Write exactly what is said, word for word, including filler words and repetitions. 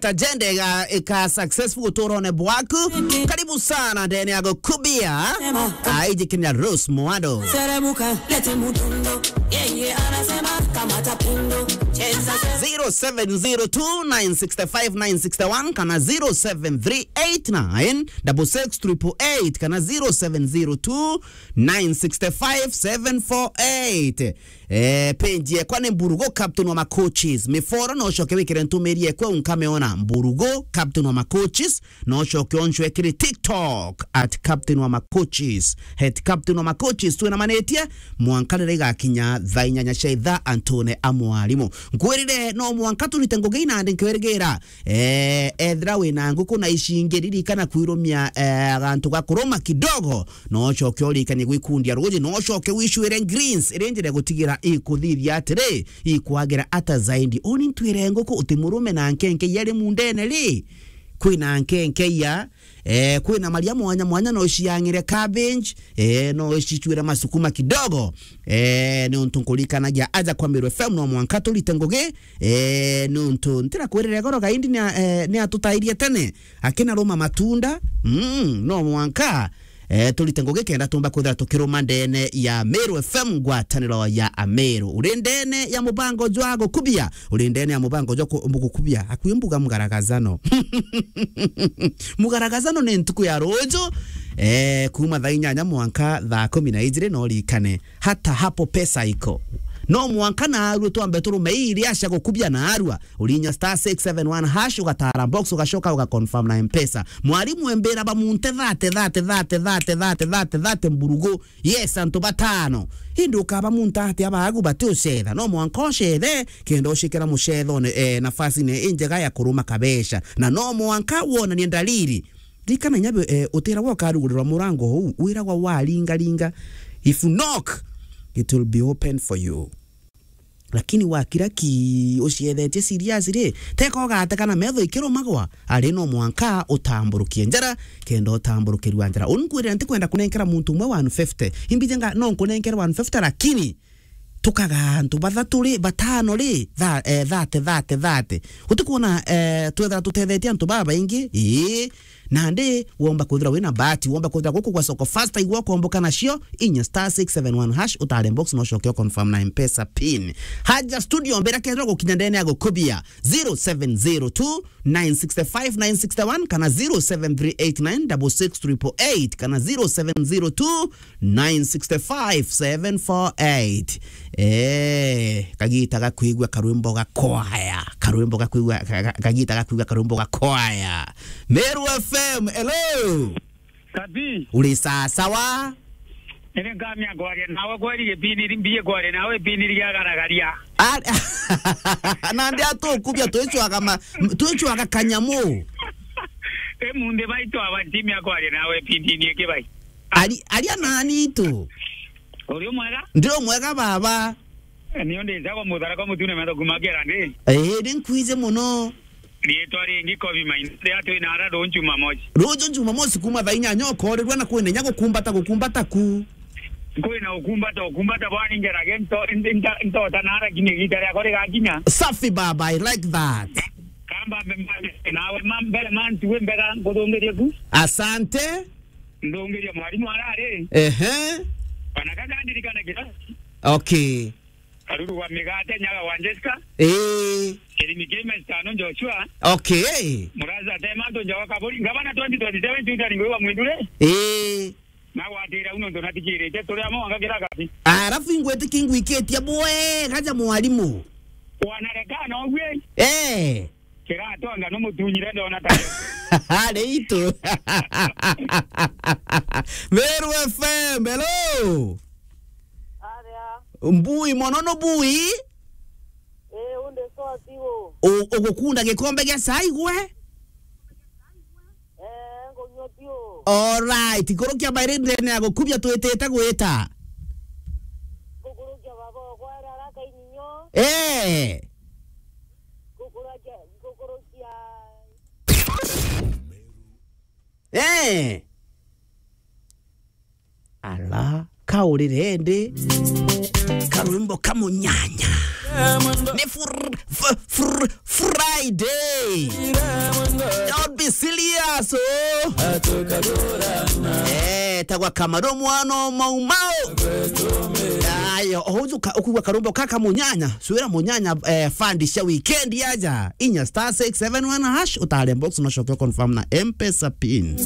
Agenda ika successful uturone bwaku. Karibu sana ndene ya Gukubia. Aiji kinya Rose Mwando. Seremuka, lete mudundo. Yeye anasema kamata pindo. Cheza, cheza. Zero seven zero two nine six five nine six one kana zero seven three eight nine double six triple eight kana zero seven zero two nine six five seven four eight. Eh, page yekwa ni Mburugo Captain wa Macoaches. Miforo no ucoke wikire ntumiri yekwe unkameona Mburugo Captain wa Macoaches. No ucoke oncwe kiri TikTok at Captain wa Macoaches. At Captain wa Macoaches twinamanitie mwanka riria igakinya thaa inyanya cia ithaa antune a mwarimu. Nkwirire no mwanka turite ngugi inandi nkwirigira. Eh, ethira wina nguku na icingi, ririkana kwirumia, eh, agantu ga kuruma kidogo. No ucoke urikanie gwikundia ruuji, no ucoke wicwire greens, iri njira gutigira ikuthithia atiri, ikwagira ata zaidi. Uni ntwire nguku uti murume na nkenke yari mundene ri? Kwina nkenke ya, eh, kwina maria mwanya mwanya no ciang'ire cabbage, eh, no cicwire masukuma kidogo. Eh, ni untu nkurikanagia aja kwa Meru F M no mwanka turite ngugi, eh, ni untu ntira kwirire goro gaindi ni a-, eh, ni atutairie tene. Akina ruma matunda, mm, no mwanka, eh, turite ngugi kenda tumba kwithira tukiruma ndene ya Meru F M, ngwataniro ya Ameru. Uri ndene ya mubango jwa Gukubia, uri ndene ya mubango jwa ku-, Gukubia, akui mbuga mugaragazano. Mugaragazano ni ntuku ya ruuju, eh, kuma thaa inyanya mwanka thaa kumi na ijiri, no urikane. Hata hapo pesa iko. No mwanka naarua twambe turume ii iria cia Gukubia naarua. Urinya star six seven one hash, ugatara box, ugacoka ugaconfirm na Mpesa. Mwarimu embira bamunte thate, thate, thate, thate, thate, thate, thate, Mburugu. Yes, antu batano. Indi ukabamunta atia baagu bati ucetha? No mwanka ucethe, kenda ucikira mucethone, eh, nafasine injega ya kuruma kabeca. Na no mwanka wonanie ndariri. Ririkana inya, eh, utiragwa ukarugurirwa murango uu, wiragwa waringaringa. If you knock, it will be open for you. Lakini wakira ki uciethetie serious ri, teka ugate kana metho ikirumagwa, ari no mwanka utamburukie njara, kenda utamburukirua njara. Uni nkwirira ntikwenda kunenkera muntu umwe one fifty. Imbije nga no nkunenkere one fifty, lakini tukaga antu bathatu ri, batano ri, tha-, eh, thate, thate, thate. Utikuona, eh, twethira tutethetie antu babaingi? Ii. Nandi womba kwithira wina bahati, womba kwithira guku gwa soko faster igwa ukomboka nacio, inya star six seven one hash, utare box no ucoke uconfirm na Mpesa pin. Haja studio mbere kethira gukinya ndene ya Gukubia, zero seven zero two nine six five nine six one kana zero seven three eight nine double six triple eight kana zero seven zero two nine six five seven four eight. Eh, kagita gakwigua karwimbo ga kwaya. Karwimbo gakwigua, ka-, ka-, kagita gakwigua karwimbo ga kwaya. Meru F M, hello. Kati. Uri sawa sawa? Ere nkamia kwaria nawe kweri gipindi ri-, mbiye kwaria nawe gipindi ria garagaria. A-, nandi atukubia twicwaga ma-, m-, twicwaga kanyamu. E munthi baitu aba ntimia kwaria nawe gipindi ni iki bai. Ari, aria nani itu. Uri umwega? Ndi umwega baba. Ni undi njagwa muthara kwa mutune metho kuma kera ndi. Eh, ni nkwije muno. Riitwa ringi Kobi Maina, ria twina ara ruju Jumamosi. Ruju Jumamosi kuma thaa inyanya ukorirua na kwina inya gukumbata, gukumbata ku. Kwina ukumbata, ukumbata bwani ngerage nto-, nta-, ntota nara kinya igita riakwa rigakinya. Safi baba, I like that. Kamba mbe-, mbe-, nawe ma-, mbere mantu we mbega nkuthungirie ku. Asante. Ndungirie mwarimu arari. Ehe. Bana kakandirikana kirasi. Okay. Karuru wa migate, nyaga wa Jessica. Eh. Kirimi kime Stano Joshua. Okay. Muraza tema to njawa kaburi. Ngabana twenty twenty-seven tuta ni ngwa mwindure. Eh. Na watira uno ndo natikirite turi amo wanga kira kabi. Arafu ingwete kingwikitie bwe gaja mwarimu. Wanarekana ogwe. Eh. Kiratonga no mutunyire ndona ta. Ari itu. Meru F M, hello. Aria. Mbui, mono no bui? Eh, unde soti wo. U-, ugukunda gikombe gia cai gwe? Eh, ngunywa biu. All right, ikurukia bairi ndene ya gukubia twitite gwita. Ngukurukia baba okwa era araka inyinyo. Eh. Ngukurukia, ngukurukia. Eh. Ala, kaurire ndi. Karwimbo kamunyanya. Ni fur-, fr- Friday. Don't be serious, oh. Eh, tagwa Kamaru mwana o Mau Mau. Ayo, ohujuka ukugwa karumbo kaka munyanya. Swira munyanya, eh, fund cia weekend yaja. Inya star six seven one hash, utare box, no shoke confirm na M-Pesa pin.